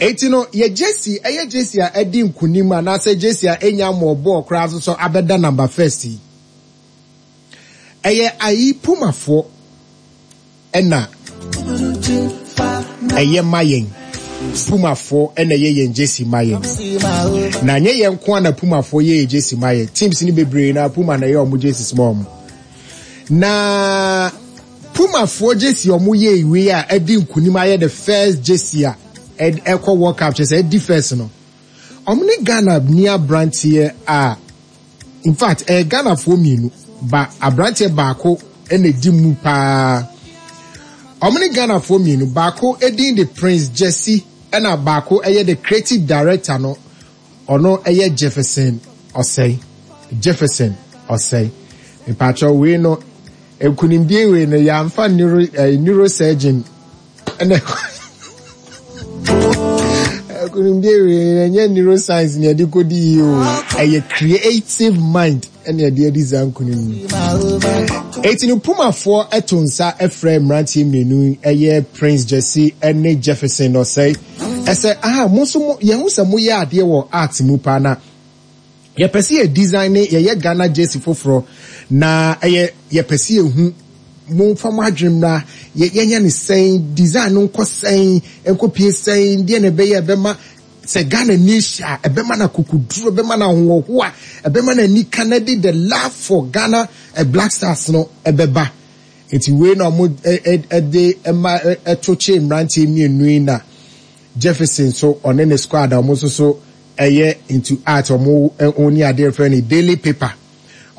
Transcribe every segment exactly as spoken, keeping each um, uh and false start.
Eti no yɛ jersey, ɛyɛ jersey a ɛdi nkunim anaasɛ jersey a enya mmɔbɔ koraa nso so abɛda number first yi. Ɛyɛ ayi, Pumafoɔ ɛna ɛyɛ ma yɛn. Pumafoɔ ɛna ɛyɛ yɛn jersey ma yɛn. Na nyɛ yɛn nko na Pumafoɔ yɛ yɛ jersey ma yɛn. Teams ni bebree na Puma na ɛyɛ ɔmo jerseys ma ɔmo. Na Pumafoɔ jersey ɔmo yɛ iwe a ɛdi nkunim ayɛ the first jersey a ɛkɔ World Cup, kyerɛ sɛ ɛdi first no. Ɔmo ne Ghana ni aberanteɛ a, in fact, ɛyɛ Ghanafoɔ mmienu ba, aberanteɛ baako ɛna di mu paa. Ɔmo ne Ghanafoɔ mmienu, baako edin de Prince Jesse, ɛna baako ɛyɛ the creative director no, ɔno ɛyɛ Jefferson Ɔsɛe. Jefferson Ɔsɛe, mpatsɔ, wei no nkunimdie wei no yɛamfa neuro ɛɛ neurosurgeon ɛna nkunimdie wei ɛnyɛ neuroscience na yɛde kɔdi yi o, ɛyɛ creative mind ɛna yɛde adi saa nkunim yi. Eti no Pumafoɔ ɛto nsa ɛfrɛ mmeranteɛ mmienu, ɛyɛ Prince Jesse ɛne Jefferson Ɔsɛe, ɛsɛ aha mo nso mo yɛn ho sɛ moyɛ adeɛ wɔ art mu paa na yɛpɛ sɛ yɛ design ne yɛyɛ Ghana jersey foforɔ, na ɛyɛ yɛpɛ sɛ yɛhu momfa mo adwene mmra, yɛnyɛ ne sɛn, design no nkɔ sɛn, nkɔpie sɛn, deɛ na ɛbɛyɛ ɛbɛma sɛ Ghana ni hyɛ a, ɛbɛma no akokoduro, ɛbɛma no ahoɔhoa, ɛbɛma no ani ka na de the love for Ghana eh, Black Stars no ɛbɛba. Nti wei na ɔmo ɛde ɛma ɛto kye mmeranteɛ mmienu yi, na Jefferson so ɔne ne squad a ɔmo nso so ɛyɛ into art, ɔmo ɔni adeɛ fɛ no daily paper,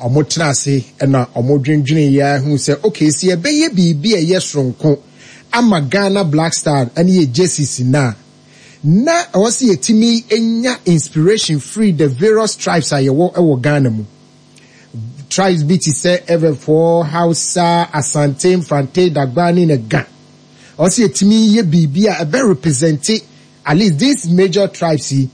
ɔmo tena ase ɛna ɔmo dwendwene yɛ ahu sɛ okay, si ɛbɛyɛ biribi a ɛyɛ soronko ama Ghana Black Star ɛne yɛ jerseys na na ɛwɔ sɛ yɛtumi nya inspiration free the various tribes a yɛwɔ ɛwɔ Ghana mu. Tribes bi te sɛ Ɛvɛfoɔ, Hausa, Asante, Mfante, Dagbani ne Ga. Ɛwɔ sɛ yɛtumi yɛ biribi a ɛbɛ represent at least these major tribes yi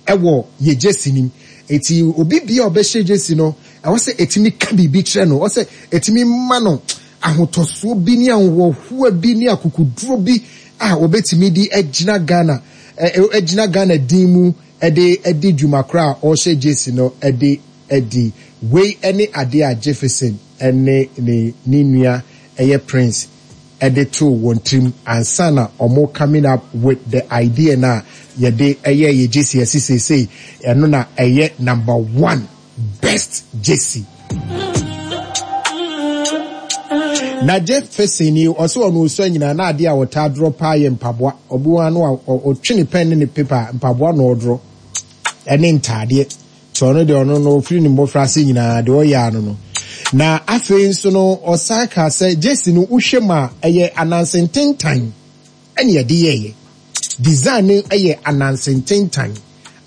ɛwɔ yɛ jersey nim. Eti obi bia a ɔbɛhyɛ jersey no, ɛwɔ sɛ ɛtumi ka biribi kyerɛ no, ɛwɔ sɛ ɛtumi ma no ahotɔsoɔ bi ne ahoɔhoa bi ne akokoduro bi a wɔbɛtumi de agyina Ghana ɛ agyina Ghana din mu ɛde ɛde dwuma koraa a ɔhyɛ jersey no ɛde ɛdi. Wei ɛne adeɛ a Jefferson ɛne ne ne nua ɛyɛ Prince ɛde to wɔn tirim ansa na ɔmo coming up with the idea na yɛde ɛyɛ yɛ jersey ɛsi seesei ɛno na ɛyɛ number one best jersey. Na Jefferson yi, ɔsɛ ɔno osua nyinaa na adeɛ a ɔtaa dorɔ paa yɛ mpaboa. Ɔbi wɔn ano a ɔtwe ne pen ne ne paper, mpaboa na ɔdorɔ ɛne ntaadeɛ, tí ɔno deɛ ɔno no ofiri ne mmɔfra ase nyinaa deɛ ɔyɛ ano no. Na afei nso no ɔsan ka sɛ jersey no, wohwɛ mu a, ɛyɛ ananse ntentan ɛne yɛde yɛɛyɛ design no, ɛyɛ ananse ntentan.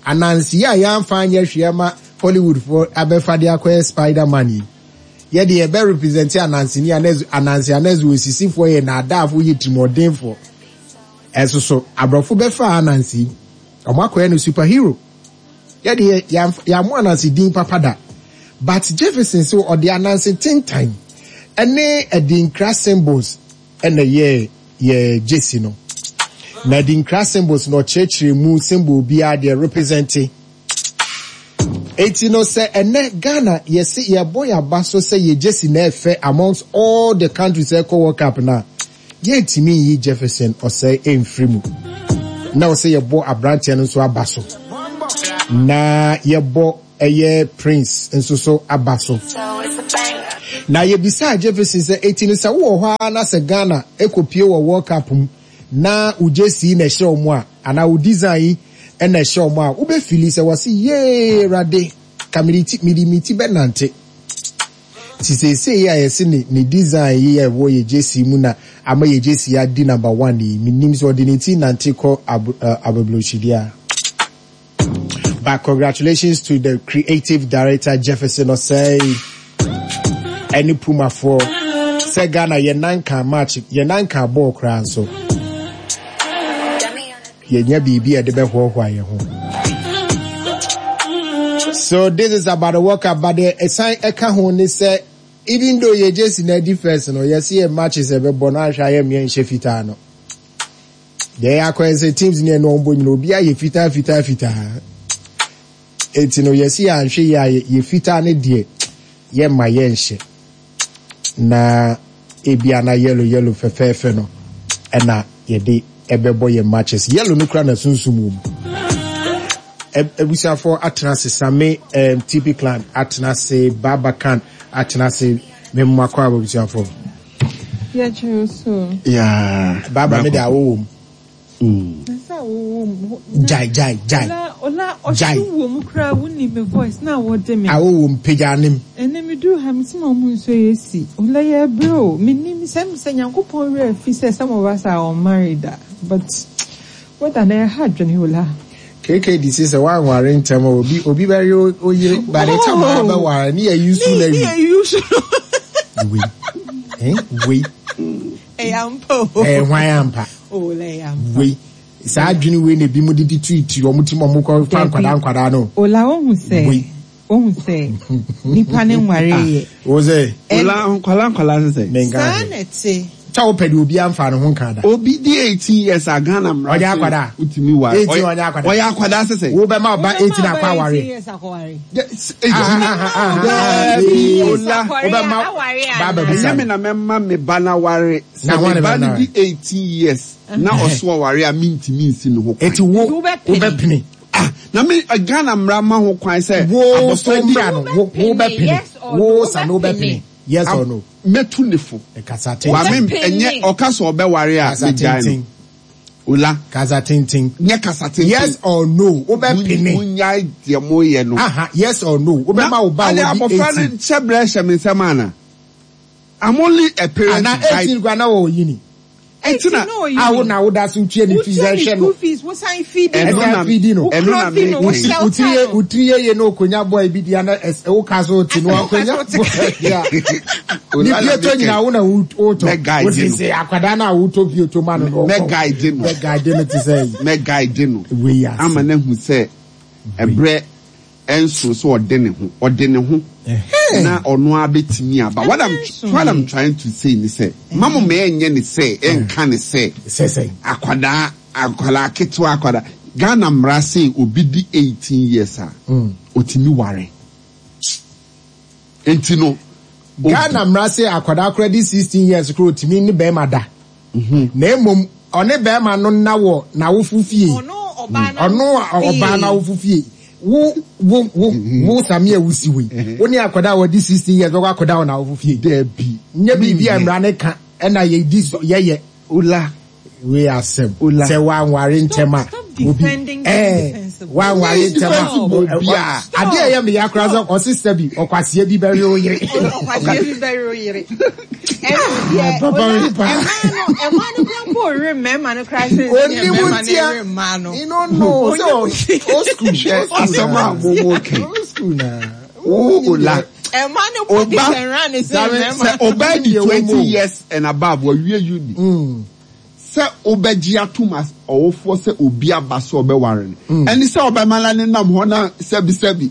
Ananse yi a yɛamfa anyɛ hwee ma Hollywood foɔ abɛfa de akɔyɛ Spider-Man yi, yɛde yɛbɛ represent ananse ni ananse ananse osisifoɔ yɛ naadaafoɔ, yɛ tirimɔdenfoɔ. Ɛso so aborɔfo bɛfa ananse yi, ɔmo akɔyɛ no superhero. Yɛde yɛamo ananse din papa da, but Jefferson so ɔde ananse tentan ɛne ɛdinkra symbols ɛna yɛ yɛ jersey no. Na ɛdinkra symbols na ɔkyerɛkyerɛ mu symbol biara deɛ represent. Eti no sɛ ɛnɛ Ghana yɛsi yɛbɔ yaba so sɛ yɛ jersey na ɛfɛ amongst all the countries ɛkɔ World Cup na yɛntumi yi Jefferson Ɔsɛe ɛmfiri mu, na ɔsɛ yɛbɔ aberanteɛ no nso aba so, na yɛbɔ ɛyɛ Prince nso so aba so. Na yɛbisa Jefferson sɛ eti no sɛ wowɔ hɔ ara na sɛ Ghana ɛkɔpie wɔ World Cup mu na wo jersey na ɛhyɛ wɔn a, anaa wo design yi ɛna ɛhyɛ wɔn a, wobɛfeel sɛ wɔsi yee Awurade ka mede ti mede mi ti bɛnante ti seesei a yɛsi ne ne design yi a ɛwɔ yɛ jersey mu na ama yɛ jersey adi number one yi, menim sɛ ɔde ne ti nante kɔ ab abɛburokyidi a. But congratulations to the creative director Jefferson Osei ɛne Pumafoɔ sɛ Ghana yɛn nan ka match, yɛn nan ka bɔɔl koraa nso yɛnya biribi a yɛde bɛhoahoa yɛn ho. So this is about the World Cup, but the ɛsan ɛka ho ne sɛ even though yɛ jersey na adi first no, yɛsi yɛ matches ɛbɛbɔ no ahwɛ ayɛ mmea nhyɛ fitaa no. Deɛ ɛyɛ akɔyɛ sɛ teams ne ɛno ɔmbɔ nyina obi ayɛ fitaa fitaa fitaa. Eti no yɛsi yɛ anhwɛ yie a yɛ fitaa ne deɛ yɛmma yɛnhyɛ na ebi ana yellow yellow fɛfɛɛfɛ no ɛna yɛde ɛbɛbɔ yɛ matches. Yellow no kura na sunsun wɔ mu. Abusuafoɔ atena ase, Same um, T P Clan atena ase, Babakan atena ase, mmemakɔ a abusuafoɔ. Yɛkyerɛ so. Yeah. Baba me de awowɔ mu. Na sɛ wowɔ mu. Gyae, gyae, gyae. Ola, ola, Gyae. ɔhye wɔ mu koraa wonim me voice na wɔde me. Awowɔ mu pagya anim. Ɛnɛ meduru ha mesi ma ɔmo nso yɛ si. Ola, yɛ brɛ o. Menim sɛ sɛ Nyankopɔn werɛ fi sɛ some of us are unmarried a. But whether na ɛha adwene, Ola. K K D sɛ sɛ woanware ntɛm a obi obi bɛyɛ oyere by the time a bɛware ne yɛ use na Ne wi yɛ use no. Wei eh wei. Ɛyɛ ampa o. Ɛyɛ hwan ampa? Ola, ɛyɛ ampa. Wei saa adwene wei na ebi mu didi tuitui wɔn ti mu ɔmo kɔ fa nkwadaa nkwadaa no. Ola, wohu sɛ Wei. wohu sɛ nipa ne nware yɛ. Wo sɛ Ola, nkwala nkwala sɛ. Menka Saa hwɛ na ɛte. kyɛ wopɛ de obi amfa ne ho nka da. Obi di eighteen years a, Ghana mmara Ɔnyɛ sɛ akwadaa. wotumi ware. Eighteen ɔnyɛ akwadaa. Ɔyɛ akwadaa sɛ sɛ. Wo bɛma ɔba eighteen akɔ aware? Years akɔware. Daabi, Ola. Wobɛma baba bisa. Ɛnyɛ me na mɛma me ba na ware. Na Sɛ hwan me na ba bɛma no na di eighteen years na ɔso ɔware a, mentumi nsi ne ho kwan. Eti wo Wobɛpene. wobɛpene? Ah, na me eh, Ghana mmara ma ho kwan sɛ Wo abɔfra so di mmra no wo wo bɛpene? Yes or Wo no? sa no wobɛpene, yes or no? Mɛtu ne fo. Kasa Wa tenten. me ɛnyɛ ɔka sɛ ɔbɛware a Kasa megyae no. tenten. Ola. Kasa tenten. Nyɛ kasa tenten. Yes or no, wobɛpene? Munyae deɛ moyɛ no. Aha, yes or no, wobɛma wo ba Na a wɔdi abɔfra no eighteen? hyɛ brɛ hyɛ me nsɛm ana. I'm only a parent Ana to guide. eighteen kora na wɔwɔ yini? Ɛnti na a wo na woda so tua ne fees Wotua ne ɛhwɛ school no fees, wosan feed Ɛno no. ɛsan na feed no. Wo ɛno na clothing no, wo meka yi. shelter Wotiri no. wotiri yɛ yie na okonya boy bi di ana ɛs woka so te no Asɛ woka akonya so te. boy bi a Ola ne na pieto meka yi. nyinaa wo na wotɔ. Mɛ guide wote no. sɛ akwadaa no a wotɔ pieto ma no no Mɛ ɔkɔ guide no. mɛ guide no te sɛ yi. Mɛ guide no. Wei ase. Ama no ahu sɛ ɛbrɛ ɛnso sɛ ɔde ne ho ɔde ne ho na ɔno ara bɛtumi aba. What I'm what I'm trying to say ni sɛ mamu mɛ ɛnyɛ ne sɛ ɛnka ne sɛ sɛ sɛ akwadaa akwadaa ketewa akwadaa. Ghana mmara sɛ obi di eighteen years a, otumi ware. Nti no obi- Ghana mmara sɛ akwadaa koraa di sixteen years koraa otumi ne bɛrima da, na emom ɔne bɛrima no nna wɔ n'awofo fie. Ɔno ɔbaa na Ɔno ɔbaa n'awofo fie. Wo wo wo wo Sami a wusi wei, wo ne akwadaa a wɔdi sixteen years bɛkɔ akwadaa wɔ n'awofo fie? Daabi. Nye biribi a mmara ne ka ɛna yɛdi so yɛyɛ. Ola. Wei asɛm. Ola. Sɛ wanware ntɛm a Stop obi defending the ɛɛ indefensible. wanware ntɛm a Indefensible bia. Adeɛ a ɛyɛ me ya koraa sɛ ɔsista bi ɔkwaseɛ bi bɛwe wo yere. Ɔkwaseɛ bi bɛwe wo yere. Ɛno deɛ, Papa Ola, mi pa. ɛmaa no ɛmaa no kora mpo ɔwe mmarima no koraa sen sɛdeɛ Onim mmarima no ntia. ɛwe mmaa no. You don't know sɛ o o school. Hwɛ asɛm a momo ka. O school na. Wo Ola. Ɛmaa no bɔ Ɔba kiss and run sen mmarima. Sɛ ɔbaa di Deɛ wɔ twenty mu. years and above, wɔwie uni sɛ wobɛgye atom as ɔwofoɔ sɛ obi aba sɛ ɔbɛware no, ɛne sɛ ɔbɛma la ne nam hɔ na sɛbisɛbi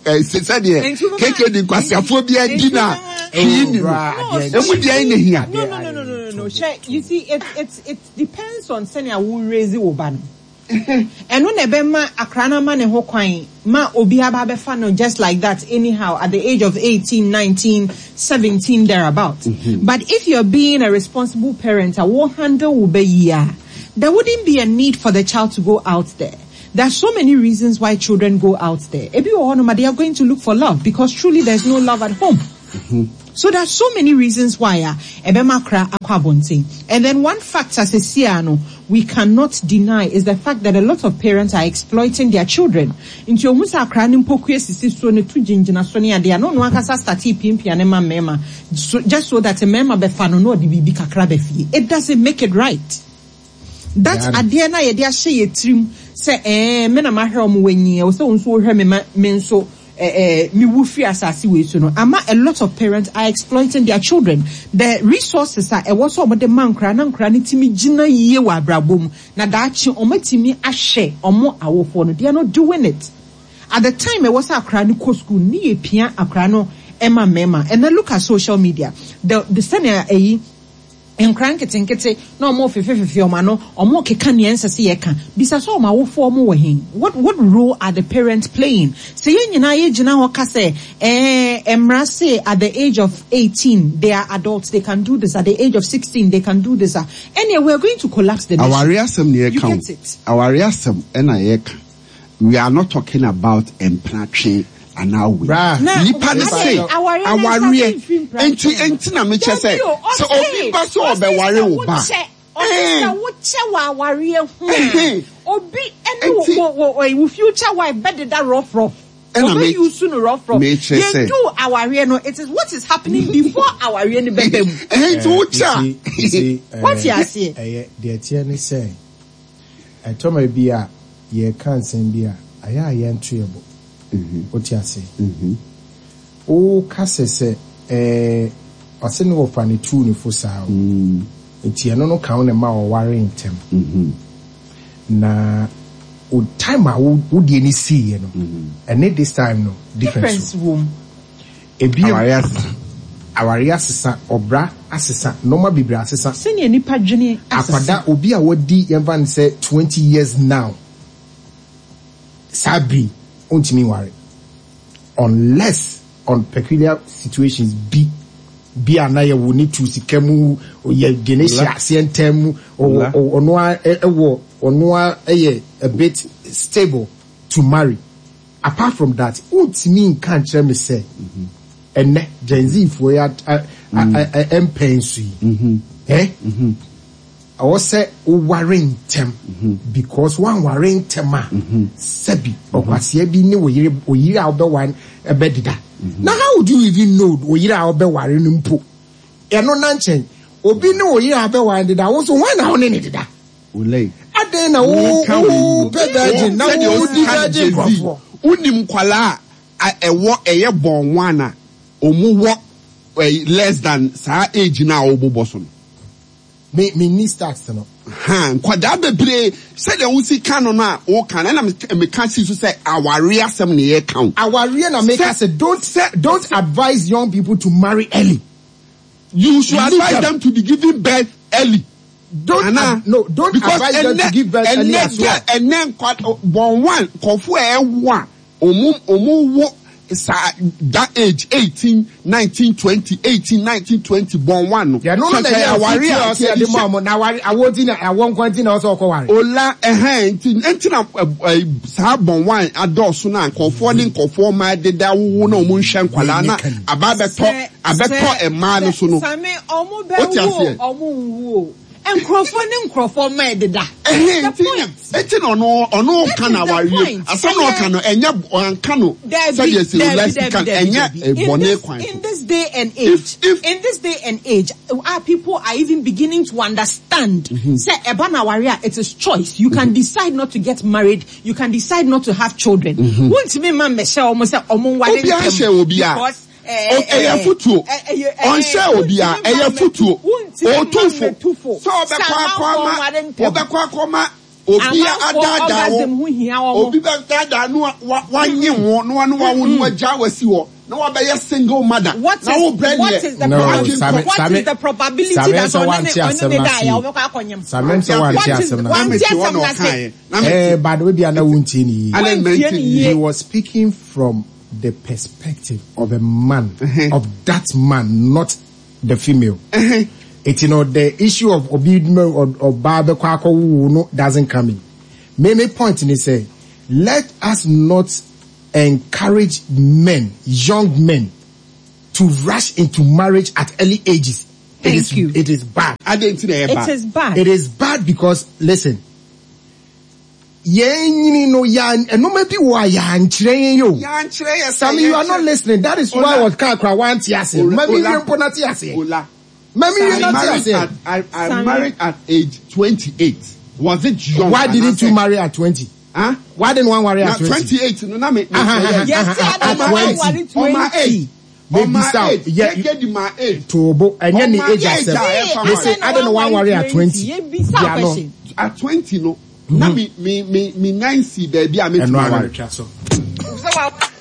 sɛdeɛ Nti wobɛma- keke di nkwasiafoɔ bi adi na hwii ni no Bra, adeɛ emu deɛ ne hia. No, no, no, no, no, no, no. Hwɛ, you see, it, it, it depends on sɛnea wo raise wo ba no. Ɛno na ɛbɛma akra no ama ne ho kwan ma obi aba abɛfa no just like that anyhow at the age of eighteen, nineteen, seventeen thereabout. But if you're being a responsible parent a wo handle wo ba yie a, there wouldn't be a need for the child to go out there. There are so many reasons why children go out there. Ebi wɔ hɔnom a, they are going to look for love because truly there's no love at home. So there are so many reasons why a ɛbɛma akra akɔ abɔnten. And then one fact as a no we cannot deny is the fact that a lot of parents are exploiting their children. Nti ohun sɛ akra ne mpokua sisi so ne tu gyinagyina so ne adeɛ a na ɔno ankasa start pimpia ne ma mmarima so, just so that mmarima bɛfa no na ɔde biribi kakra bɛfie. It doesn't make it right. That Ghana. Adeɛ na yɛde ahyɛ yɛ tirim sɛ ɛɛ me na mahwɛ ɔmo w'anyi, ɛwɔ sɛ wo nso wohwɛ me ma me nso ɛɛ me wu firi asase wei so no ama a lot of parents are exploiting their children. The resources a ɛwɔ sɛ ɔmo de ma nkora na nkora no timi gyina yie wɔ abrabɔ mu na daakye ɔmo atumi ahwɛ ɔmo awofoɔ no, they are not doing it. At the time ɛwɔ sɛ akora no kɔ school ne yɛ pia akora no ɛma mmarima. And then look at social media, the the sɛnea ɛyi Nkra nketenkete na ɔmo fefefefe ɔmo ano, ɔmo keka nea ɛnsɛ sɛ yɛka. Bisa sɛ ɔmo awofoɔ ɔmo wɔ he? What what role are the parents playing? Sɛ yɛn nyinaa yɛgyina hɔ ka sɛ ɛɛ mmara se at the age of eighteen they are adults, they can do this, at the age of sixteen they can do this a, ɛnneɛ we are going to collapse the nation. Aware asɛm na You yɛka get it? o. Aware asɛm ɛna yɛka. We are not talking about mpratwe anaa wei. Bra. Na Nipa ne ade se awareɛ no awareɛ nsa mfiri mpratwe nti no. nti na mekyɛ sɛ Dabi o, sɛ ɔse obi ba sɛ ɔse ɔbɛware sɛ wo ba. wokyɛ ɔse Eh. sɛ wokyɛ wɔ awareɛ ho a Ɛhɛn. obi ɛne wo Nti wo wo wo future wife bɛdeda rough rough. ɛna Obi me use no rough rough. mekyerɛ sɛ Yɛndu awareɛ no, it is what is happening before awareɛ no bɛba mu. ɛhɛn nti Eh, wokyɛ you see, you a see, What eh, you aseɛ? ɛyɛ deɛ ɛteɛ ne sɛ ɛtɔma bi a yɛka nsɛm bi a ayɛ a yɛnto yɛ bo. Wote ase? Woka sɛ sɛ ɛɛ ɔse ne wɔfa ne tuu ne fo saa o. Nti ɛno no ka wo ne ma ɔware ntɛm. Na o time a wo wo deɛ ne siiɛ no, ɛne this time no difference Difference wɔ mu. Ebiem aware asesa. Aware asesa, ɔbra asesa, nneɛma bebree asesa. Sɛnea nipa dwene asesa. Akwada obi a wadi yɛmfa no sɛ twenty years now, saa bere ontumi nware unless on peculiar situations bi bi a na yɛwɔ ne tu sika mu, yɛ de ne hyɛ aseɛ ntɛm mu, Ola. ɔno a ɛwɔ ɔno a ɛyɛ a bit stable to marry. Apart from that, ontumi nka nkyerɛ me sɛ ɛnɛ Gen Z foɔ yi ɛmpɛn so yi ɛ ɛwɔ sɛ woware ntɛm because woanware ntɛm a sɛbi ɔkwasea bi ne wo yere wo yere a wobɛware ɛbɛdeda. Na how would you even know wo yere a wobɛware no mpo? Ɛno na nkyɛn obi ne wo yere a wobɛware deda, wo nso hwan na wo ne ne deda? Olay. Adɛn na wo Woka wo wei pɛ virgin na sɛdeɛ wo wosi di ka no virgin Gen Z nkurɔfoɔ? Wonim nkwalaa a ɛwɔ ɛyɛ born one a ɔmo wɔ ɛyi less than saa age na a wɔbobɔ so no? Me me ni stats no. Ha nkwadaa bebree sɛdeɛ wosi ka no no a woka no ɛna meka si so sɛ aware asɛm na yɛka o. Awareɛ na meka Sɛ- sɛ don't don't advise young people to marry early. You should Leave advise them. them to be giving birth early. Don't Ana ad, no, don't because advise them to give birth early ɛnɛ as well. gɛ ɛnɛ nkwa born one nkɔfo a ɛwo a ɔmo ɔmo wo saa that age eighteen, nineteen, twenty, eighteen, nineteen, twenty, born one no. Yɛ no no na Sɛ yɛ aware aware a a ɔsɛ yɛde ma ɔmo na aware awɔ ti na awɔ nkwa ti na ɔsɛ ɔkɔ ware. Ola ɛhɛn nti nti na ɛ ɛ saa born one adɔɔso na nkɔfoɔ ne nkɔfoɔ mmaa deda wowo na ɔmo nhwɛ nkwalaa na aba abɛtɔ abɛtɔ mmaa no so no. Sami ɔmo Wote bɛ wo aseɛ? ɔmo nwu o. Nkurɔfoɔ ne nkurɔfoɔ mma ɛdeda. Ɛhɛn The nti na point. nti na ɔno ɔno That ka is na the awareɛ point. asɛm na ɔka no ɛnyɛ ɔnka no Dabi, sɛdeɛ sɛ dabi, Ola dabi, sika dabi, ɛnyɛ dabi. In bɔne this- kwan so. In this day and age, If- if- in this day and age, our people are even beginning to understand. Mm-hmm. Sɛ ɛba na aware a, it is choice. You can decide not to get married. You can decide not to have children. Wontumi mma mmɛhyɛ ɔmo sɛ ɔmo nware Obiara ntɛm hyɛ obiara. because, eh, Ɔ- ɛyɛ eh, futuo. eh, eh, eh, Ɔnhyɛ obiara, wontumi ɛyɛ mma futuo. wontumi mma Ɔtufo. mmɛtufo. Sɛ ɔbɛkɔ Sɛ amanfoɔ akɔma nware ntɛm. ɔbɛkɔ akɔma obi Amanfoɔ adaadaa orgasm ho wo hia wɔn. obi bɛ daadaa no wa wanye wo na wano wawo no wagya wasi hɔ na wabɛyɛ single mother What na is wo brɛ what deɛ is the No, prob- Sami- what Sami- is the probability Sami that sɛ ɔne ne wante ɔne asɛm ne no da ase. a ɔbɛkɔ akɔnyam? Sami sɛ wante What is asɛm no wante ase. Na mete hɔ asɛm na no ase? ɔkaeɛ. Na mete. Eh, by the way, bi ana wontie ne yie. Ana Wantie mante ne yie. He was speaking from the perspective of a man, of that man, not the female. It, you know, the issue of obi ɔbaa bɛkɔ akɔwo no doesn't come in. Me me point ni sɛ, let us not encourage men, young men, to rush into marriage at early ages. It Thank is, you. It is bad. Adɛn nti na ɛyɛ It bad? is bad. It is bad because listen, yɛn nyini no ya ɛnoma bi wɔ a yɛankyerɛ yɛn yi o. Yɛankyerɛ yɛ sɛ Sammy, you are not yɛnkyerɛ- listening. That is why Ola. was car kra wante ase. Ola- Mami Ola. wie mpo na te ase. Ola. Mami wie I na te married ase. at, I, I Sammy. married at age twenty-eight. Was it young? Why didn't you Anaasɛ- marry at twenty? Huh? Why didn't one marry Na at twenty? twenty-eight no na me. me- Ah, ah, ah, Yes, ah, ah, I at don't twenty. worry On my twenty. age. On my Maybe age. yeah, Keke di my age. Tobo, ɛnyɛ ne On my age age, asɛm. I am Listen, I don't know why worry at twenty. Yɛbisa Yeah, no. question. At twenty no. Na me me me me nine si baabi a me Ɛno tuma ano ware. retwa so.